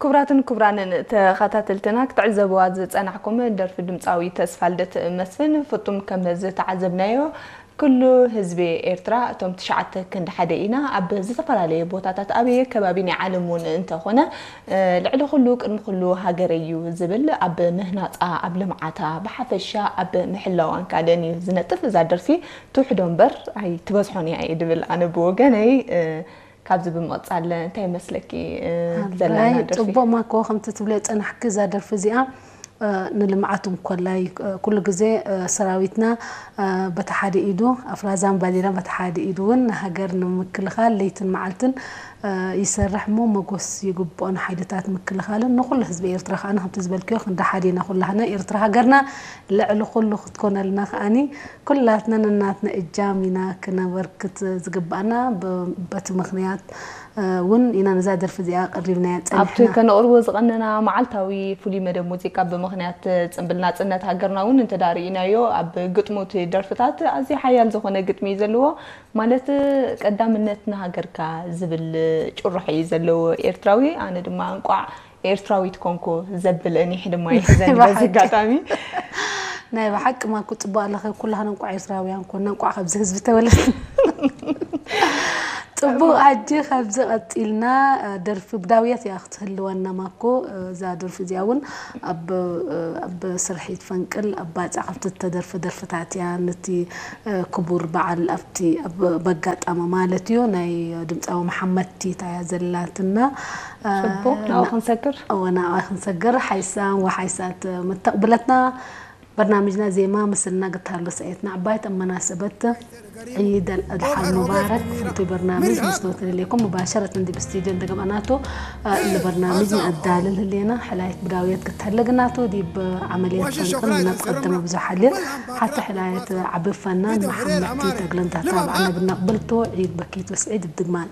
ክቡራትን ክቡራንን ተኸታተልትና ክትዕዘብዋ ዝጸናሕኩም ደርፊ ድምጻዊ ተስፋልደት መስፍን ፍጡም ከም ዝተዓዘብናዮ ኩሉ ህዝቢ ኤርትራ እቶም ትሽዓተ ክንዲ ሓደ ኢና ኣብ ዝተፈላለየ ቦታታት ኣበየ ከባቢ ናይ ዓለም እውን እንተኾነ ልዕሊ ኩሉ ቅድሚ ኩሉ ሃገረይ እዩ ዝብል ኣብ ምህናጻ ኣብ ልምዓታ ብሓፈሻ ኣብ ምሕላዋን ካልእን እዩ ዝነጥፍ። እዛ ደርፊ ትውሕዶ እምበር ኣይትበዝሖን እያ እየ ድብል ኣነ ብወገነይ። ካብዚ ብምቕጻል እንታይ ይመስለኪ? ዘለና ኣይ ደርፊ ጽቡቕ ማኮ ከምቲ ትብልዮ ጸናሕኪ እዛ ደርፊ እዚኣ ንልምዓት እንኮላይ ኩሉ ግዜ ሰራዊትና በቲ ሓደ ኢዱ ኣፍራዛን ባንዴራን በቲ ሓደ ኢዱ እውን ንሃገር ንምክልኻል ለይትን መዓልትን ይሰርሕ እሞ መጎስ ይግብኦ ንሓይልታት ምክልኻልን ንኩሉ ህዝቢ ኤርትራ ከዓ ከምቲ ዝበልክዮ ክንዲ ሓደ ኢና ኩላህና ኤርትራ ሃገርና ልዕሊ ኩሉ ክትኮነልና ከዓኒ ኩላትና ነናትና እጃም ኢና ክነበርክት ዝግባኣና በቲ ምክንያት እውን ኢና ነዛ ደርፊ እዚኣ ቀሪብናያ ኣብቲ ጸኒሕና። ከነቕርቦ ዝቐነና መዓልታዊ ፍሉይ መደብ ሙዚቃ ብምኽንያት ጽንብል ናጽነት ሃገርና እውን እንተዳርኢናዮ ኣብ ግጥሙ እቲ ደርፍታት ኣዝዩ ሓያል ዝኾነ ግጥሚ እዩ ዘለዎ። ማለት ቀዳምነት ንሃገርካ ዝብል ጭርሖ እዩ ዘለዎ ኤርትራዊ። ኣነ ድማ እንቋዕ ኤርትራዊት ኮንኩ ዘብል እኒሕ ድማ ይሕዘኒ በዚ ኣጋጣሚ። ናይ ብሓቂ ማኩ ጽቡቅ ኣለኸ ኩላህና እንቋዕ ኤርትራውያን ኮና እንቋዕ ካብዚ ህዝቢ ተወለድና። ጽቡቅ ኣጂ ካብዚ ቀጺልና ደርፊ ብዳውየት እያ ክትህልወና ማኮ እዛ ደርፊ እዚኣ እውን ኣብ ኣብ ስርሒት ፈንቅል ኣብ ባጽዕ ካብቲ ተደርፈ ደርፍታት እያ ነቲ ክቡር በዓል ኣብቲ በጋጣሚ ማለት እዩ ናይ ድምፃዊ መሓመድቲ እታ እያ ዘላትና ጽቡቅ ናብኡ ክንሰግር እወ ናብኣ ክንሰግር ሓይሳ ወሓይሳት መተቕብለትና برنامجنا زي ما مثلنا قلت له سعيتنا عباية أما ناسبت عيد الأضحى المبارك في برنامج مستوى لكم مباشرة عندي باستديو عند قبناته البرنامج نعدال لنا حلاية بداوية قلت لقناته دي بعملية فنقل نقدم بزحلين حتى حلاية عبد الفنان محمد تيتا قلن تتابعنا بنقبلته عيد بكيت وسعيد الدقمان